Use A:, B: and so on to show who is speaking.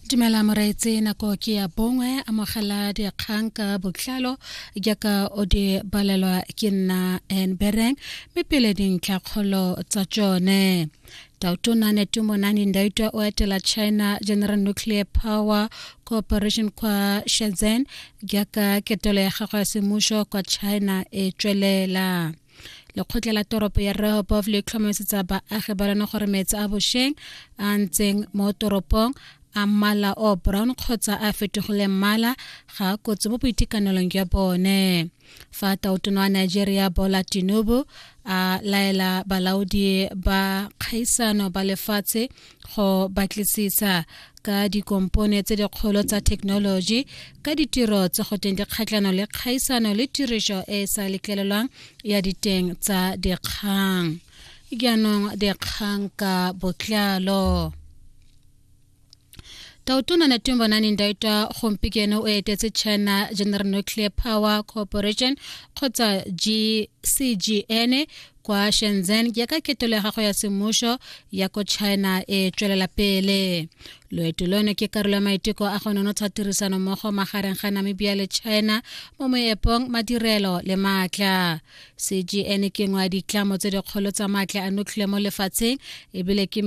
A: Dumela moreetsi, nako ke ya bongwe. Amogela dikgang ka botlalo jaaka o di balelwa ke nna N Bereng, mme pele dintlhakgolo tsa tsone. Tautona Netumbo Nandi-Ndaitwah o etela China General Nuclear Power Corporation kwa Shenzhen jaaka ketelo ya gagwe ya semmušo kwa China e tswelela. Lekgotla la toropo ya Rehoboth le tlhomamisetsa baagi ba lone gore metsi a bošweng a ntseng mo toropong a mmala o brown kgotsa a fetogile mmala ga a kotsi mo boitekanelong jwa bone. Fa tautona wa Nigeria Bola Tinubu a laela balaodi ba kgaisano ba lefatshe go batlisisa ka dikompone tse dikgolo tsa thekenoloji ka ditiro tse go teng dikgatlhano le kgaisano le tiriso e e sa letlelelwang ya diteng tsa dikgang. Jaanong dikgang ka botlalo. Tautona Netumbo Nandi-Ndaitwah gompieno o etetse China General Nuclear Power Corporation kgotsa GCGN kwa Shenzhen jaaka ketelo ya gagwe ya semmušo ya ko China e tswelela pele. Loeto lono ke karolo ya maiteko a go nonotsha tirisano mmogo magareng ga Namibia le China mo moepong, madirelo le maatla. CGN ke nngwe ya ditlamo tse dikgolo tsa maatla a nuclear mo lefatsheng ebile ke.